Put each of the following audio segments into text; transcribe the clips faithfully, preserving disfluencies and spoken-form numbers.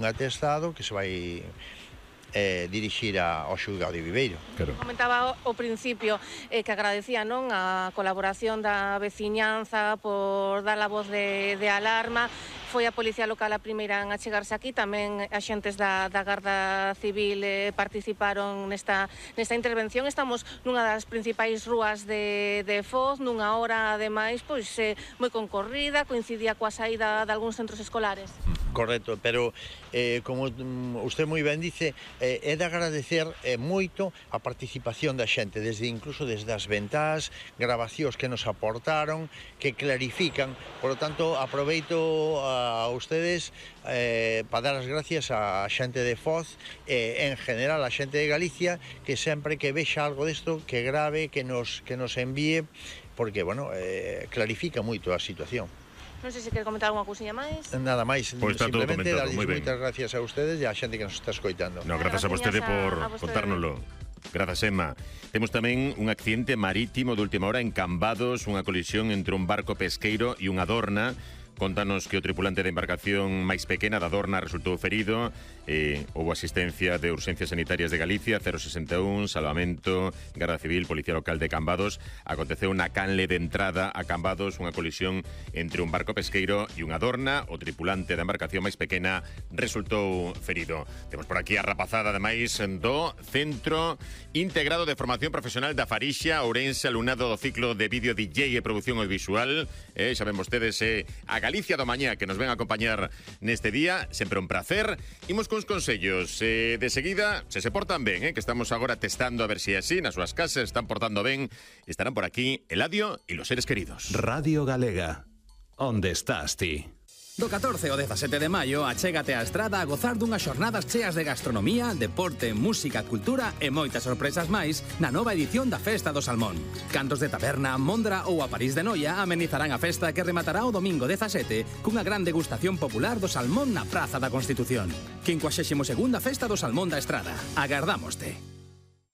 un atestado que se vai eh, dirixir a, ao xulgado de Viveiro. Claro. Comentaba ao principio eh, que agradecía, non, a colaboración da veciñanza por dar a voz de, de alarma. Foi a Policía Local a primeira en achegarse aquí, tamén axentes da, da Garda Civil eh, participaron nesta, nesta intervención. Estamos nunha das principais rúas de, de Foz, nunha hora, ademais, pois eh, moi concorrida, coincidía coa saída de algúns centros escolares. Correcto, pero eh, como usted moi ben dice, eh, é de agradecer eh, moito a participación da xente, desde incluso desde as ventás, grabacións que nos aportaron, que clarifican. Por lo tanto, aproveito a, a ustedes eh, para dar as gracias á xente de Foz, eh, en general a xente de Galicia, que sempre que vexa algo desto, que grave, que nos, que nos envíe, porque, bueno, eh, clarifica moito a situación. Non sei se quer comentar algunha cousiña máis. Nada máis, Pois está todo simplemente comentado, darles moi ben. moitas gracias a ustedes e a xente que nos está escoitando. No, grazas a vostede por contárnoslo. Grazas, Emma. Temos tamén un accidente marítimo de última hora en Cambados, unha colisión entre un barco pesqueiro e unha dorna. Contanos que o tripulante da embarcación máis pequena da Dorna resultou ferido. Eh, houve asistencia de Urxencias Sanitarias de Galicia, cero sesenta e un, Salvamento, Garda Civil, Policía Local de Cambados. Aconteceu na canle de entrada a Cambados unha colisión entre un barco pesqueiro e unha Dorna. O tripulante da embarcación máis pequena resultou ferido. Temos por aquí a rapazada, ademais, do Centro Integrado de Formación Profesional da Farixa, Ourense, alumnado do ciclo de vídeo D J e produción audiovisual. Eh, xa ven vostedes, eh, a Galicia do Mañá, que nos ven a acompañar neste día, sempre un placer. Imos cos consellos, eh, de seguida, se se portan ben, eh, que estamos agora testando a ver se si é así, nas súas casas están portando ben, estarán por aquí Eladio e los seres queridos. Radio Galega, onde estás ti? Do catorce ao dezasete de maio, achégate á Estrada a gozar dunhas xornadas cheas de gastronomía, deporte, música, cultura e moitas sorpresas máis na nova edición da Festa do Salmón. Cantos de taberna, Mondra ou a París de Noia amenizarán a festa que rematará o domingo dezasete cunha gran degustación popular do salmón na Praza da Constitución. quincuagésima segunda Festa do Salmón da Estrada. Agardámoste.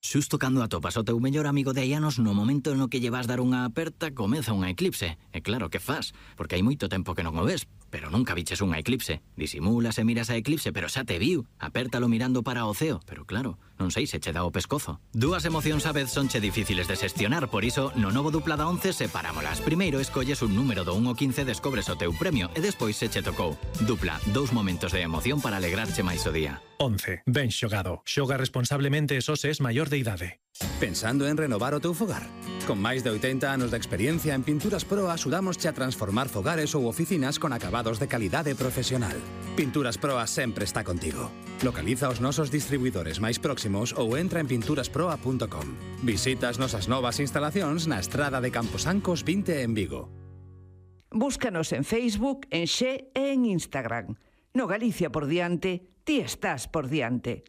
Xusto cando atopas o teu mellor amigo de hai anos, no momento no que lle vas dar unha aperta, comeza unha eclipse. E claro, que faz? Porque hai moito tempo que non o ves, pero nunca viches unha eclipse. Disimulas e miras a eclipse, pero xa te viu. Apértalo mirando para o ceo, pero claro, non sei se che dá o pescozo. Dúas emocións a vez sonche difíciles de xestionar, por iso, no novo Dupla da once separámolas. Primeiro escolles un número do un ao quince, descobres o teu premio, e despois se che tocou. Dupla, dous momentos de emoción para alegrarche máis o día. once. Ben xogado. Xoga responsablemente e só se es maior de idade. Pensando en renovar o teu fogar? Con máis de oitenta anos de experiencia en Pinturas Pro axudámosche a transformar fogares ou oficinas con acabados de calidade profesional. Pinturas Pro sempre está contigo. Localiza os nosos distribuidores máis próximos ou entra en pinturas proa punto com. Visita as nosas novas instalacións na Estrada de Camposancos vinte en Vigo. Búscanos en Facebook, en Xe e en Instagram. No Galicia por diante, ti estás por diante.